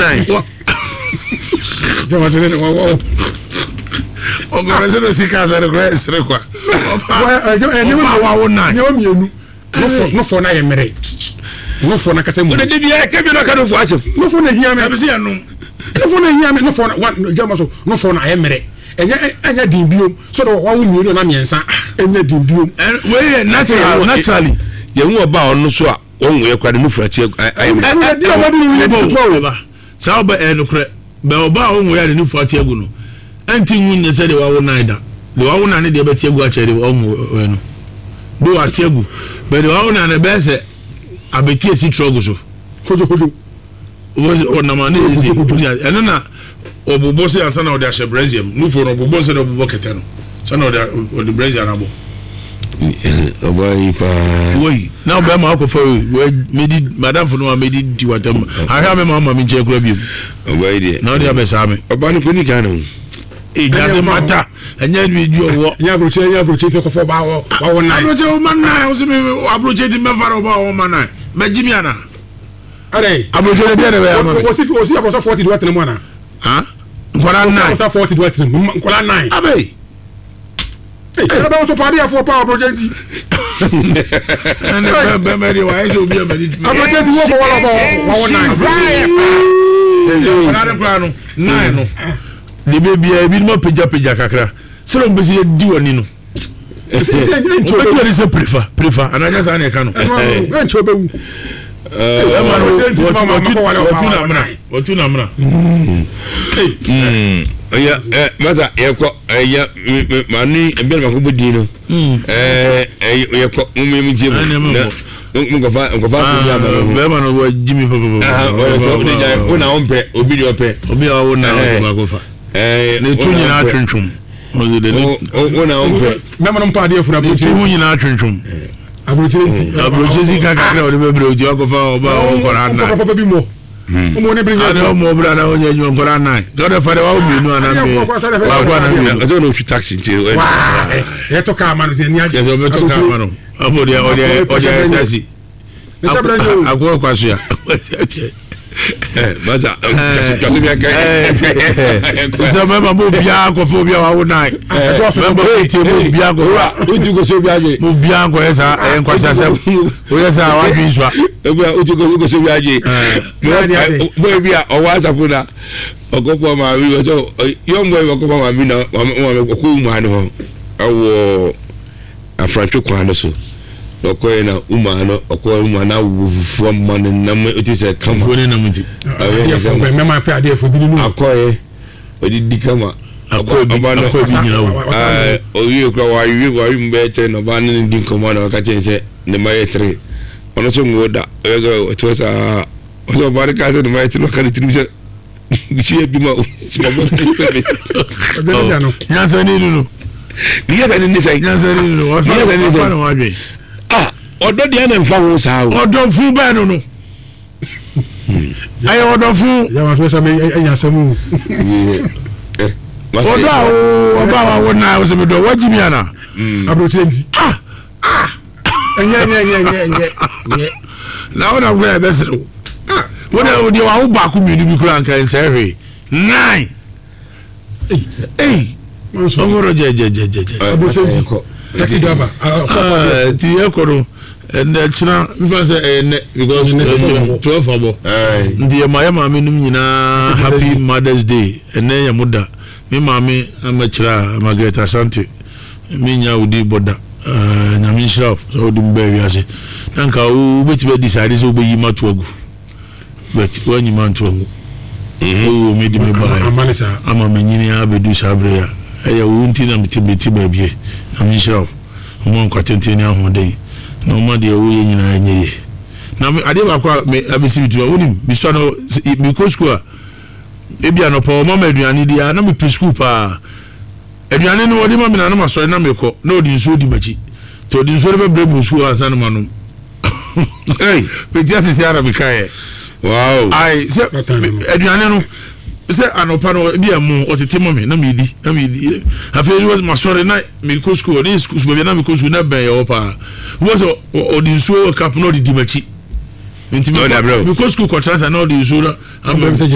nan. Ɔkɔrɔ sɛ na sika asɛ no koraa ɛsere kwa. Ɔba wawo nan. Nneɛma mmienu. Nofo na yɛ mmerɛ. Nofo na kasa mu. Wode de bia ɛka bi na ɔka nofo asɛm. Nofo na hia me. Ɛbi sɛ yɛnom. Nofo na hia me. Nofo na wa gyama so. Nofo na ayɛ mmerɛ. Ɛnyɛ ɛnyɛ den biom. So de wawo mmienu na mmiɛnsa. Ɛnyɛ den biom. Wei yɛ natural naturally. Yɛn ɔba a ɔno so a wɔn yɛ kora de nufu akyi ayɛ mmerɛ. Ɛno di a wɔde ne yɛ ketewa o. Saa ɔba ɛyɛ nokorɛ. Bɛ ɔba a ɔnwoeɛ a ne nufu ate agu no, ɛnte ngu nyɛ sɛ deɛ wawo nan da. Deɛ wawo nan no deɛ bɛte agu akyɛre deɛ ɔnwoeɛ no. Though ate agu, but deɛ wawo nan no ɛbɛyɛ sɛ abɛti asi trɔg so. Hodwohodwo. Ɔnam a ne yɛ sɛ ɛno na ɔbobɔ sɛ ansa na ɔde ahyɛ brɛsiɛ mu. Nufoɔ no ɔbobɔ sɛ deɛ ɔbobɔ kɛtɛ no. Sɛ na ɔde ɔde brɛsiɛ no abɔ. Ɔbaa yi paa. Woi na ɔbɛrima akɔfa wei wei medi madamfo no a medi di watam ahwɛ a mɛma ɔma me nkyɛn kura biom. Ɔbaa yi deɛ. Na ɔde abɛsaa me. Ɔbaa no kò ní Ghana o. It doesn't matter. Ɛnyɛ bi di ɔwɔ. Ɛnyɛ aburokye ɛnyɛ aburokye ti kɔfɔ ɔbaa wɔ wawɔ nan. Aburokye ɔma nan ɔsɛ mi aburokye ti mɛfa na ɔbaa ɔma nan mɛ gyi mi ana. Ɛdɛ. Aburokye de deɛ na bɛyɛ ama mi. Wɔsi wɔsi abɔsɔ fɔti di wa tẹnɛ mu ana. Nkɔla nan. Wɔsi abɔsɔ fɔti di wa tẹnɛ mu nkɔla nan. Abe. Ɛna bɛ nso paade afoɔ paa aburokye nti. Ɛnɛ bɛ bɛ bɛ de wa ayɛ sɛ obi a mɛ ni. Aburokye nti wɔ kɔ wɔlɔ bɔ wɔwɔ nan. Nkɔla de kura no nan no. De bɛ bia ebi ma pagya kakra sɛdeɛ wɔn bɛsi yɛ di wɔn ni no. Wɔbɛdi wɔn ni sɛ prefa prefa ananyɛ saa na ɛka no. Ɛnkyɛ ɔbɛwu. Ɛma no wɔtu na mena wɔtu na mena. Ɛyɛ ɛ masa yɛkɔ ɛyɛ maame ebi na mako bɔ din no ɛɛ yɛkɔ mo mo tie mu na nkɔfa nkɔfa asɛm bi aba no. Bɛrima no wɔ gyi mi pɔpɔpɔ. Ɔyɛ sɛ ɔde gya wo na ɔmpɛ obi deɛ ɔpɛ. Obi a ɔwɔ na ɔde baako fa. Ne tu nyinaa twentwom. Wo na ɔmpɛ. Bɛrima no mpa adeɛ fura aburokyire. Ne tu nyinaa twentwom. Aburokyire nti. Aburokyire sika kakra ɔde bɛbrɛ oti wakɔfa ɔba a ɔwɔ nkɔla anan. Papa bi mmɔ. Ɔmo ne bere nyɛ. Ade ɔmo ɔbra na ɔnyɛ adwuma nkɔla anan. Tɔdɛ fa de wawo mmienu anan mmienu. Baako anan mmienu. Ɛsɛ ɔna otwi taxi nti. Ɛtɔ kaa ma no ti ɛni agye. Ɛsɛ ɔbɛtɔ kaa ma no. Ɔmo deɛ ɔde ɔde ayɛ taxi. Akɔ kwasoa. Basa sɛ mɛma mo biara kɔfɛ obi a wawo nan mɛma mo tie mo biara kɔfɛ mo biara nkɔyɛ saa ɛyɛ nkwasi asɛm oyɛ saa wadwi nsua. Bɔyɛ bi a ɔwɔ asafo na ɔkɔfɔ maame bi ɔsɛ yɔn bɔyɛ bi ɔkɔfɔ maame na maame ɔkɔ wu maame hɔ ɛwɔ. Afrantwe kwan no so na ɔkɔɛ na umaa no ɔkɔɛ umaa na awo fufuo ama no nam otu sɛ kama. Fufuo ne nam nti. Adeɛfo bɛ mɛma pɛ adeɛfo bi nínú. Akɔɛ ɔdidi kama. Akɔɛ bi akɔɛ bi nyina wo. Ɛɛ owie kura wawe wawe mu bɛyɛ tere na ɔbaa ne ne di nkɔmɔ na ɔka kyɛn sɛ ne ma yɛ tere ɔno nso nwo da ɔyɛ sɛ ɔte saa ɔsɛ ɔbaa no kaa sɛ ne ma yɛ tere ɔka ne tirim sɛ si adwuma o si ma bɔ sɛ mi. Nyansa ni no. Nyansa ni ni sɛ. Nyansa ni no wafa wafa na wadwe. Ah ɔdɔ deɛ na nfa ho saa o. Ɔdɔ fun bɛɛ no no. Ɛyɛ ɔdɔ fun. Yàrá fẹ́ sọ mi ẹ̀yà sẹ́mu. Ɔdɔ a o ɔba wa wo na ɔsɛ mi dɔ wagyi mi ana. Aburokyire nti. Ah ah. Ɛnyɛ ɛnyɛ ɛnyɛ ɛnyɛ ɛnyɛ ɛnyɛ. Na wo na wo yɛ bɛsere wo. Wo de wo deɛ wawo baako mmienu bi kura nka nsɛ hwee. Nine. Ei. Ɔmɔrɔ gyɛgyɛgyɛgyɛ. Aburokyire nti. Taxi driver. Ti yɛ kɔ no ɛnɛ kyena nfa sɛ ɛyɛ nɛ because 12 abɔ. Nti yɛ ma yɛ maame nom nyinaa happy mother's day ɛnɛ yɛ mo da. Me maame amɛkyerɛ a Margaret Asante. Me nnya wo din bɔ da. Nyame nhyira wo sɛ wode me baa wiase. Na nka wobɛtumi adi saa ade sɛ wobɛyi mato agu. But woanyi manto angu. Mhm. Wowoo me de me baeɛ ama manyini abɛdu saa berɛ yi a. Ɛyɛ wo nti na mete mete baabie. Nyame nhyira wo. Ɔma nkwa tenten ne ahoɔden. Na ɔma deɛ woyɛ nyinaa nyɛ yie. Na me adeɛ baako a me abɛsi me tirim a wonim mesua no mekɔ sukuu a ebi anɔpa wɔma me aduane di a na mepɛ sukuu paa. Aduane no ɔde ma me na na masɔre na mekɔ na ɔde nsuo di m'akyi nti ɔde nsuo no bɛbrɛ me wɔ sukuu hɔ ansa na manom. Hey! Mete ase sɛ ara mekaeɛ. Wow! Ae sɛ aduane no sɛ anɔpa no ebi ɛmo ɔtete ma me na medi na medi afei masɔre na mekɔ sukuu ɔde sukuu baabi na mekɔ sukuu na bɛn yɛ hɔ paa wọ́n sɛ ɔde nsuo wɔ cup na ɔde di m'akyi nti mekɔ sukuu kɔtena sa na ɔde nsuo na ama.